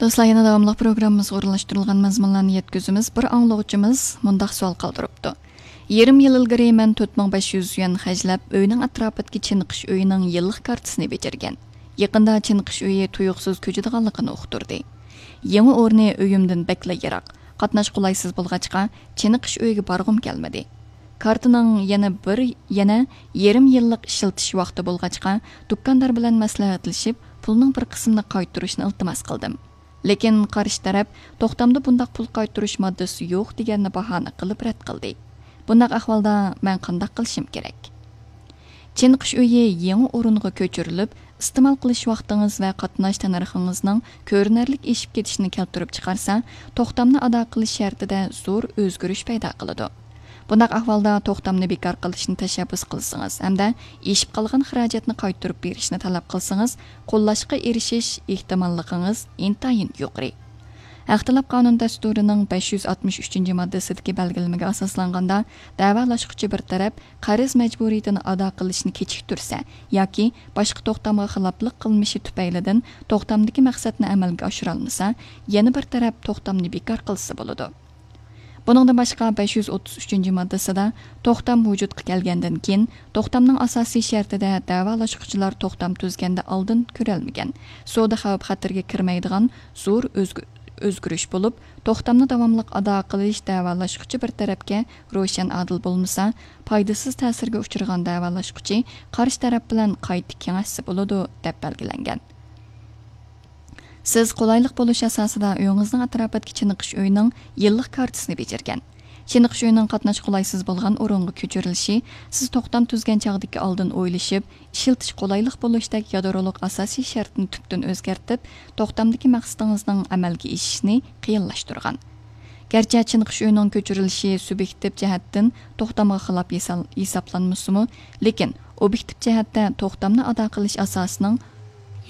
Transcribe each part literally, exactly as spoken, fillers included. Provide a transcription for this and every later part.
دوستلار، يەنە داۋاملىق پروگراممىمىزغا ئورۇنلاشتۇرۇلغان مەزمۇنلارنى يەتكۈزىمىز. بىر ئاڭلىغۇچىمىز مۇنداق سوئال قالدۇرۇپتۇ: يېرىم يىل ئىلگىرى مەن تۆت مىڭ بەش يۈز يۈەن خەجلەپ، ئۆينىڭ ئەتراپىدىكى چېنىقىش ئۆيىنىڭ يىللىق كارتىسىنى بېجىرگەن. يېقىندا چېنىقىش ئۆيى تۇيۇقسىز كۆچىدىغانلىقىنى ئۇقتۇردى. يېڭى ئورنى ئۆيۈمدىن بەكلا يىراق، قاتناش قولايسىز بولغاچقا، چېنىقىش ئۆيىگە بارغۇم كەلمىدى. كارتىنىڭ يەنە بىر، يەنە يېرىم يىللىق ئىشلىتىش ۋاقتى بولغاچقا، دۇكاندار بىلەن مەسلىھەتلىشىپ، پۇلنىڭ بىر قىسمىنى قايتۇرۇشنى ئىلتىماس قىلدىم. لېكىن قارشى تەرەپ توختامدا بۇنداق پۇل قايتۇرۇش ماددىسى يوق دېگەننى باھانە قىلىپ رەت قىلدى. بۇنداق ئەھۋالدا مەن قانداق قىلىشىم كېرەك؟ چېنىقىش ئۆيى يېڭى ئورۇنغا كۆچۈرۈلۈپ، ئىستېمال قىلىش ۋاقتىڭىز ۋە قاتناش تەننەرخىڭىزنىڭ كۆرۈنەرلىك ئېشىپ كېتىشىنى كەلتۈرۈپ چىقارسا، توختامنى ئادا قىلىش شەرتىدە زور ئۆزگىرىش پەيدا قىلىدۇ. بۇنداق ئەھۋالدا توختامنى بىكار قىلىشنى تەشەببۇس قىلسىڭىز ھەمدە ئېشىپ قالغان خىراجەتنى قايتۇرۇپ بېرىشنى تەلەپ قىلسىڭىز، قوللاشقا ئېرىشىش ئېھتىماللىقىڭىز ئىنتايىن يۇقىرى. ھەق تەلەپ قانۇن دەستۇرىنىڭ بەش يۈز ئاتمىش ئۈچىنچى ماددىسىدىكى بەلگىلىمىگە ئاساسلانغاندا، دەۋالاشقۇچى بىر تەرەپ قەرز مەجبۇرىيىتىنى ئادا قىلىشنى كېچىكتۈرسە ياكى باشقا توختامغا خىلاپلىق قىلمىشى تۈپەيلىدىن توختامدىكى مەقسەتنى ئەمەلگە ئاشۇرالمىسا، يەنە بىر تەرەپ توختامنى بىكار قىلسا بولىدۇ. بۇنىڭدىن باشقا، بەش يۈز ئوتتۇز ئۈچىنچى ماددىسىدا توختام ۋۇجۇدقا كەلگەندىن كېيىن، توختامنىڭ ئاساسىي شەرتىدە دەۋالاشقۇچىلار توختام تۈزگەندە ئالدىن كۆرەلمىگەن، سودا خەۋپ-خەتىرىگە كىرمەيدىغان زور ئۆزگە-، ئۆزگىرىش بولۇپ، توختامنى داۋاملىق ئادا قىلىش دەۋالاشقۇچى بىر تەرەپكە روشەن ئادىل بولمىسا، پايدىسىز تەسىرگە ئۇچرىغان دەۋالاشقۇچى قارشى تەرەپ بىلەن قايتا كېڭەشسە بولىدۇ، دەپ بەلگىلەنگەن. سىز قولايلىق بولۇش ئاساسىدا ئۆيىڭىزنىڭ ئەتراپىدىكى چېنىقىش ئۆيىنىڭ يىللىق كارتىسىنى بېجىرگەن. چېنىقىش ئۆيىنىڭ قاتناش قولايسىز بولغان ئورۇنغا كۆچۈرۈلۈشى سىز توختام تۈزگەن چاغدىكى ئالدىن ئويلىشىپ، ئىشلىتىش قولايلىق بولۇشتەك يادرولۇق ئاساسىي شەرتنى تۈپتىن ئۆزگەرتىپ، توختامدىكى مەقسىتىڭىزنىڭ ئەمەلگە ئېشىشىنى قىيىنلاشتۇرغان. گەرچە چېنىقىش ئۆيىنىڭ كۆچۈرۈلۈشى سۇبيېكتىپ جەھەتتىن توختامغا خىلاپ ھېسال-، ھېسابلانمىسىمۇ، لېكىن ئوبيېكتىپ جەھەتتە توختامنى ئادا قىلىش ئاساسىنىڭ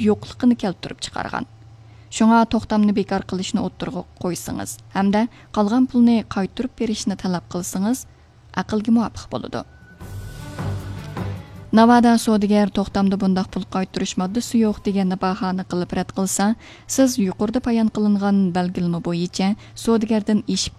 يوقلۇقىنى كەلتۈرۈپ چىقارغان. شۇڭا توختامنى بىكار قىلىشنى ئوتتۇرىغا قويسىڭىز ھەمدە قالغان پۇلنى قايتۇرۇپ بېرىشنى تەلەپ قىلسىڭىز، ئەقىلگە مۇۋاپىق بولىدۇ. ناۋادا سودىگەر توختامدا بۇنداق پۇل قايتۇرۇش ماددىسى يوق دېگەننى باھانە قىلىپ رەت قىلسا، سىز يۇقىرىدا بايان قىلىنغان بەلگىلىمە بويىچە سودىگەردىن ئېشىپ